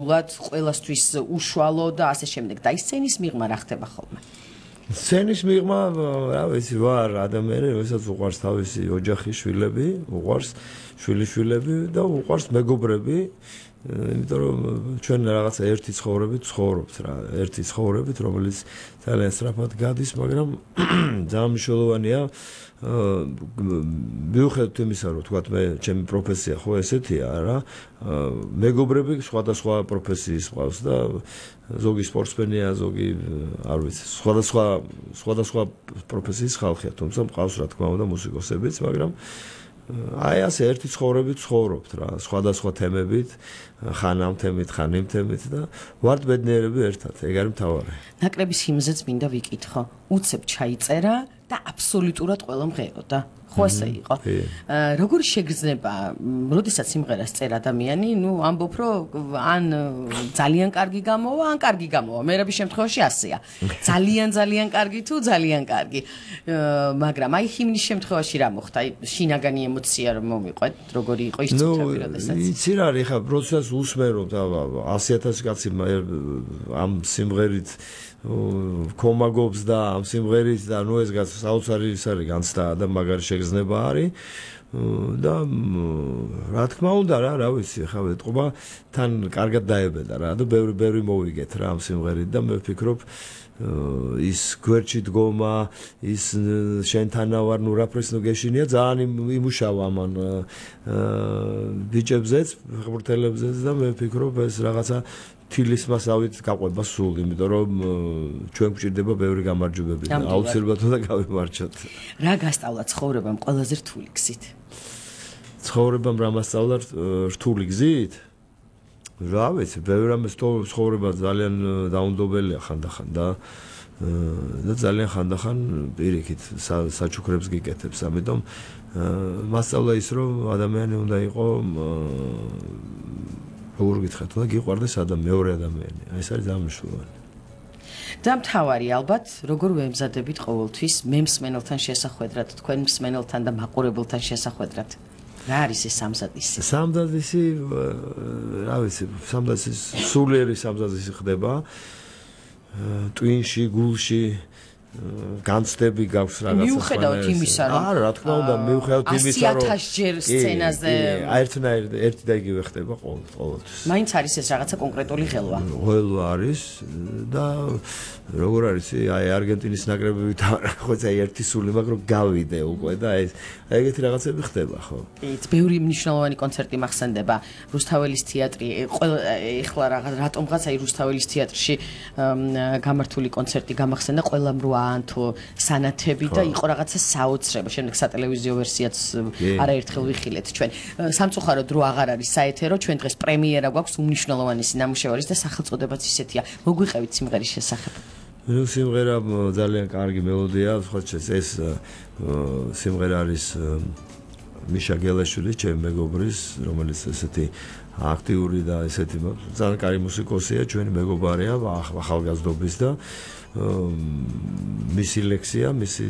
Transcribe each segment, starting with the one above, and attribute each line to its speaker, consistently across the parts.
Speaker 1: ყველასთვის უშუალო და ასე შემდეგ და ის სცენის მიღმა რა ხდება ხოლმე?
Speaker 2: სცენის მიღმა, რა ვიცი, ვარ ადამიანი, რომელსაც უყვარს თავისი ოჯახი, შვილები, უყვარს შვილიშვილები და უყვარს მეგობრები, იმიტომ რომ ჩვენ რაღაცა ერთი ცხოვრებით ცხოვრობთ რა, ერთი ცხოვრებით, რომელიც ძალიან სწრაფად გადის, მაგრამ ძალიან მნიშვნელოვანია მიუხედავად იმისა, რომ თქვათ მე ჩემი პროფესია ხო ესეთია რა, მეგობრები სხვადასხვა პროფესიის ყავს და ზოგი სპორტსმენია, ზოგი არ ვიცი, სხვადასხვა პროფესიის ხალხია, თუმცა მყავს რა თქმა უნდა მუსიკოსებიც, მაგრამ აი ასე ერთი ცხოვრებით ცხოვრობთ რა, სხვადასხვა თემებით, ხან ამ თემით, ხან იმ თემით და ვართ ბედნიერები ერთად, ეგ არის მთავარი.
Speaker 1: ნაკრების ჰიმნზეც მინდა ვიკითხო. უცებ ჩაიწერა და აბსოლუტურად ყველა მღეროდა. ხო ასე იყო. როგორ შეგრძნება, როდესაც სიმღერას წერა ადამიანი, ამბობ რომ ან ძალიან კარგი გამოვა, ან კარგი გამოვა. მერაბის შემთხვევაში ასეა. ძალიან კარგი თუ ძალიან კარგი. მაგრამ აი ჰიმნის შემთხვევაში რა მოხდა? აი შინაგანი ემოცია რომ მომიყვეთ, როგორი იყო ის წუთები, როდესაც?
Speaker 2: იცი რა, ხა პროცესს უსმენობ და 100,000 კაცი ამ სიმღერით კომაგობს და ამ სიმღერით და ეს საოცარი ის არის განცდა და მაგარი შეგრძნება არის და რა თქმა უნდა რა ვიცი ხა ეტყობა თან კარგად დაებედა რა და ბევრი მოვიგეთ რა ამ სიმღერით და მე ვფიქრობ ის გვერდში დგომა ის შენთანავარ ნურაფრეს გეშინია ძალიან იმუშავა ამან ბიჭებზეც ხბურთელებზეც და მე ვფიქრობ ეს რაღაცა თილის მასავით გაყვება სულ, იმიტომ რომ ჩვენ გვჭირდება ბევრი გამარჯვებები და აუცილებლად უნდა გავიმარჯვოთ.
Speaker 1: რა გასწავლა ცხოვრებამ ყველაზე რთული გზით?
Speaker 2: ცხოვრებამ რა მასწავლა რთული გზით? რა ვიცი, ბევრი რამე ცხოვრება ძალიან დაუნდობელია ხანდახან და ძალიან ხანდახან პირიქით საჩუქრებს გიკეთებს, ამიტომ მასწავლა ის რომ ადამიანი უნდა იყოს როგორ გითხრათ, უნდა გიყვარდეს მეორე ადამიანი. აი ეს არის ძალიან მნიშვნელოვანი.
Speaker 1: და მთავარი ალბათ, როგორ ვემზადებით ყოველთვის მემსმენელთან შესახვედრად, თქვენ მსმენელთან და მაყურებელთან შესახვედრად? რა არის ეს სამზადისი?
Speaker 2: სამზადისი, რა ვიცი, სამზადისი სულიერი სამზადისი ხდება ტვინში, გულში განცდები გაქვს რაღაცა
Speaker 1: მიუხედავად იმისა რომ
Speaker 2: რა თქმა უნდა მიუხედავად იმისა რომ
Speaker 1: 100,000 ჯერ სცენაზე
Speaker 2: ერთი და იგივე ხდება ყოველთვის
Speaker 1: მაინც არის ეს რაღაცა კონკრეტული ხელვა
Speaker 2: არის და როგორ არის აი არგენტინის ნაკრებებით ხო აი ერთი სული მაგრამ გავიდე უკვე და ეგეთი რაღაცები ხდება ხო
Speaker 1: ეს ბევრი მნიშვნელოვანი კონცერტი მახსენდება რუსთაველის თეატრი ეხლა რატომღაც აი რუსთაველის თეატრში გამართული კონცერტი გამახსენდა ყველამ რო ანთო სანათები და იყო რაღაცა საოცრება. შემდეგ სატელევიზიო ვერსიაც არაერთხელ ვიხილეთ ჩვენ. სამწუხაროდ დრო აღარ არის საეთერო, ჩვენ დღეს პრემიერა გვაქვს უმნიშვნელოვანესი ნამუშევარის და სახელწოდებაც ისეთია. მოგვიყევით სიმღერის შესახებ.
Speaker 2: სიმღერა ძალიან კარგი მელოდია, სხვა ეს სიმღერა არის მიშა გელაშვილი, ჩემი მეგობრის, რომელიც ესეთი აქტიური და ესეთი ძალიან კარგი მუსიკოსია, ჩვენი მეგობარია, ახალგაზრდობის და მისი ლექსია, მისი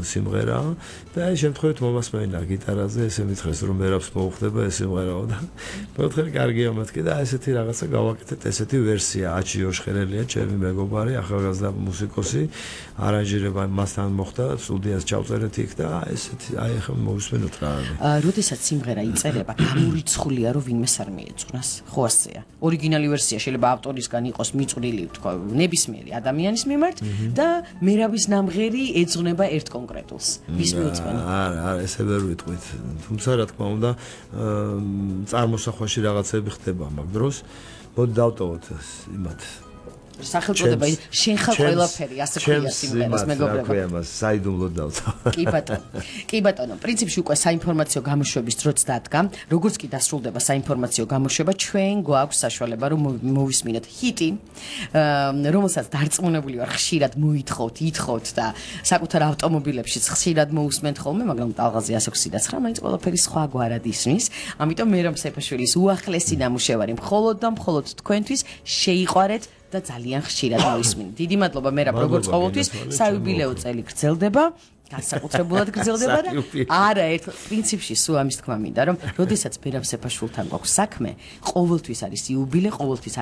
Speaker 2: სიმღერა და აი შემთხვევით მომასმენა გიტარაზე ესე მითხრეს რომ მერაბს მოუხდება ეს სიმღერაო და მოთხარ კარგია მეთქი და ესეთი რაღაცა გავაკეთეთ ესეთი ვერსია აჩი ოშხერელია ჩემი მეგობარი ახალგაზრდა მუსიკოსი არანჟირება მასთან მოხდა სტუდიას ჩავწერეთ იქ და ესეთი აი ახლა მოვისმენოთ რა
Speaker 1: როდესაც სიმღერა იწერება გამორიცხულია რომ ვინმეს არ მიეწუნას ხო ასეა ორიგინალი ვერსია შეიძლება ავტორისგან იყოს მიწვრილი თქვა ნებისმიერი ადამიანის მიმართ და მერაბის ნამღერი ეძღვნება ერთ კონკრეტულს. ვის მიუძღვენა?
Speaker 2: არა, ესე ვერ ვიტყვით. თუმცა რა თქმა უნდა, წარმოსახვაში რაღაცები ხდება მაგ დროს. მოდი დავტოვოთ იმათ.
Speaker 1: სახელწოდება შენ ხარ ყველაფერი, ასე ქვია სიმღერას მეგობრებო.
Speaker 2: რა ქვია მას, საიდუმლოდ დავტოვ.
Speaker 1: კი ბატონო, პრინციპში უკვე საინფორმაციო გამოშვების დროც დადგა. როგორც კი დასრულდება საინფორმაციო გამოშვება, ჩვენ გვაქვს საშუალება რომ მოვისმინოთ ჰიტი, რომელსაც დარწმუნებული ვარ ხშირად მოითხოვთ, ითხოვთ და საკუთარ ავტომობილებშიც ხშირად მოусმენთ ხოლმე, მაგრამ ტალღაზე 129, მაინც ყველაფერი სხვაგვარად ისმის. ამიტომ მერაბ სეფაშვილის უახლესი ნამუშევარი მხოლოდ და მხოლოდ თქვენთვის შეიყვარეთ და ძალიან ხშირად მოისმინეთ. დიდი მადლობა მერაბ როგორც ყოველთვის საიუბილეო წელი გრძელდება განსაკუთრებულად გრძელდება და არა ერთ პრინციპში სულ ამის თქმა მინდა რომ როდესაც ბერამ სეფაშვილთან გვაქვს საქმე ყოველთვის არის იუბილე ყოველთვის